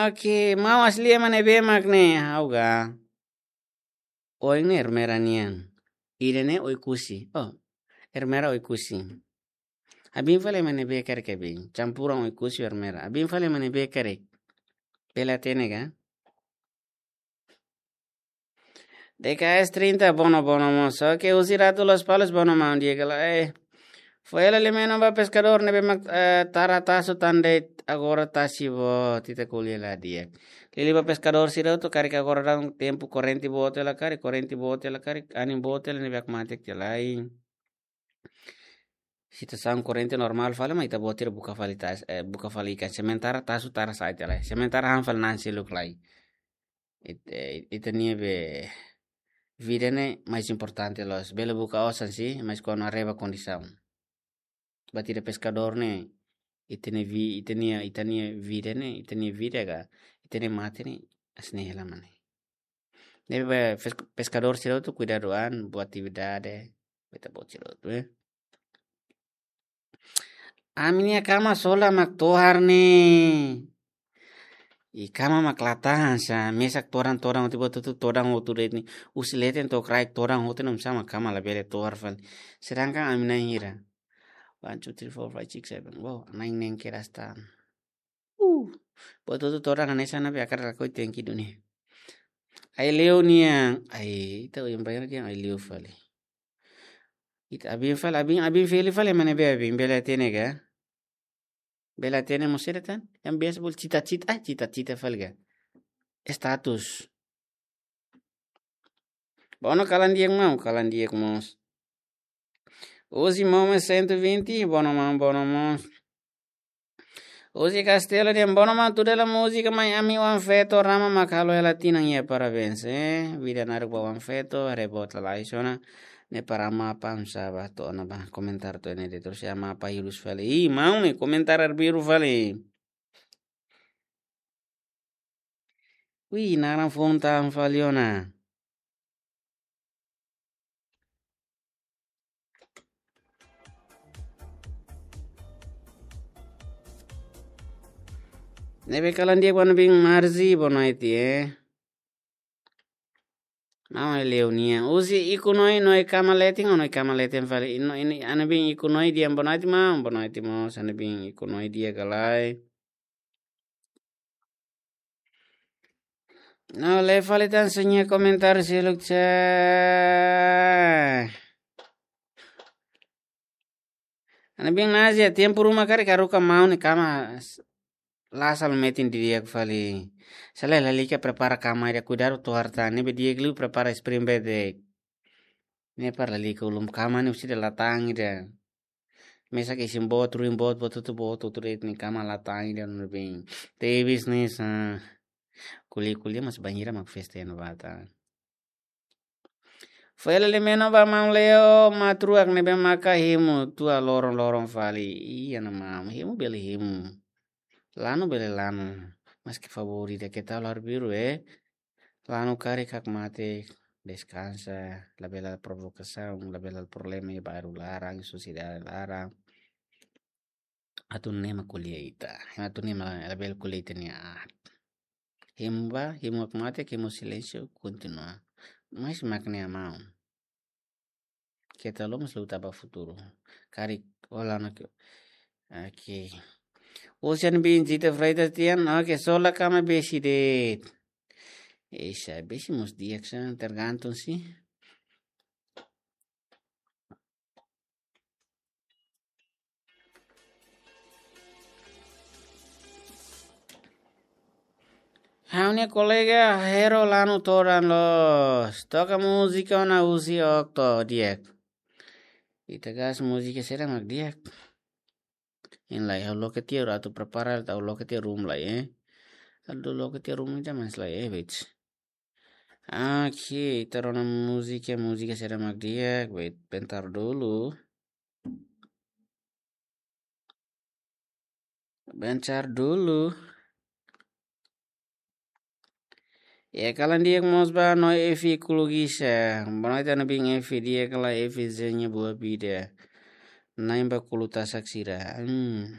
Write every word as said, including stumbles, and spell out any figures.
Oke, maun Asli ema ne'ebé mak ne'e, ha'u ga. Oin ne'e Ermera nian. Ida ne'e Oekusi. Oh, Ermera Oekusi. Abin fali ema ne'ebé karik abin. Campuran Oekusi Ermera. Abin fali ema ne'ebé karik. Bele hatene ka? D K S trinta, bono, bono mós. Oke, husi Ratu Lospalos, bono maun di'ak ka lae. Foin hela liu menon ba peskadór ne'ebé mak, eh, tara tasu tan de'it, agora tasi boot, ita ko'alia la di'ak. Liuliu ba peskadór sira hotu karik agora daudaun tempu korrente boot hela karik, korrente boot hela karik, anin boot hela ne'ebé mak matenek tiha lai. Situasaun korrente normál fali, mas ita-boot sira buka fali tas-, eh, buka fali ikan. Sementara tasu tara sa'e tiha lai. Sementara han fali na'an seluk lai. It-, eh, ita-nia be vida ne'e mais importante loos. Bele buka osan sih, mas kuandu haree ba kondisaun. Buat ida peskadór ne'e, ita-nia vi-, ita-nia, ita-nia vida ne'e, ita-nia vida ka, ita-nia mate ne'e, hanesan ne'e hela mak ne'e. Ne'ebé pes-, peskadór sira hotu kuidadu an, buat atividade, ita-boot sira hotu, eh. Ami-nia kama sola mak tohar ne'e. I kama mak la tahan sá, mesak todan-todan hotu, buat hotu todan hotu de'it ne'e. Husi leten to'o kraik todan hotu ne'e, oinsá mak kama labele tohar fali. Sedangkan ami na'in hira. One, two, three, four, five, six, seven. Wow, na'in neen kedas tan. Uh, buat hotu todan hanesan ne'ebé hakarak lakohi tenke duni. Aileu nian, ai, ita yang bayar dia aileu fali. Ita abin fali, abin, abin feli fali ema ne'ebé abin, bele hatene ka? Bele hatene mós sira tan? Yang biasa bolu cita-cita, ah, cita-cita fali ka? Status. Bono kalan di'ak maun, kalan di'ak mós. Uzi Momes cento e vinte, bono maun, bono mós. Uzi Castelo dehan bono maun, tuda la múzika mai ami oan feto rama mak halo hela tinan iha, parabéns, eh. Vida naruk ba oan feto, reboot lalais ona. Ne'e para Amapa, oinsá ba to'o ona ba, komentar to'o ne'e de'it, terus iha Amapa hirus fali. Ih, maun ne'e komentar arbiru fali. Wih, naran foun tan fali ona. Ne'ebé kalan di'ak ba Nabin Marzi, boa noite, eh. Maun Leunia. Uzi Iku Noi, Noi kama leten, Noi kama leten fali. Ino, ini, Nabin Iku Noi dehan boa noite, maun, boa noite mós, Nabin Iku Noi di'ak ka lae. No, lee fali tan sira-nia komentar seluk sá. Nabin Nazia, tempu ruma karik haruka maun ne'e kama s-, la sala metin didi'ak fali. Sala lalika prepara kama ida, kuidadu tohar tan, ne'ebé di'ak liu prepara spring bed de'it. Ne'e para lalika ulun kama ne'e husi ida la tan ida. Mesak isin boot, ruin boot, boot hotu boot, hotu de'it ne'e kama la tan ida Nabin. Tebes ne'e sá. Ko'alia-ko'alia mas bainhira mak festa iha ne'ebá tan. Foin hela liu menon ba maun Leo, matruak ne'ebé maka hemu tua loron-loron fali. Iya, no maun, hemu bele hemu. Lanu bele lanu. Maski favór ida keta lar biru, eh. Lanu karik hakmatek, deskansa, labele provokasaun, labele problema iha bairru laran, sosiedade laran. Atu ne'e mak ko'alia ita. Atu ne'e mak labele ko'alia ita-nia aat. Hemu ba, hemu hakmatek, hemu silénsiu, kontinua. Mas mak ne'e maun. Keta lo mas luta ba futuru. Karik ola na ke. Oke. Ocean Bin Zita Freitas dehan, oke, sola kama besi de'it. Esa, besi mós di'ak sá, tergantung sih. Ha'u-nia kolega Hero lanu todan loos. Toka múzika ona husi Okto, di'ak. Ita gas múzika saida mak di'ak. Hein lai, ha'u loke tiha, atu prepara, ha'u loke tiha room lai, eh. Ha'u loke tiha room ida mais lai, eh, wait. Oke, ita rona múzika, múzika saida mak di'ak, wait, bentar dulu. Bentar dulu. Ya, kalan di'ak mós ba Noi Efi Kulugisa. Boa noite, Nabin Efi, di'ak ka lae Efi, dezeña boa vida. Na'in ba kulu tasak sira. Hmm.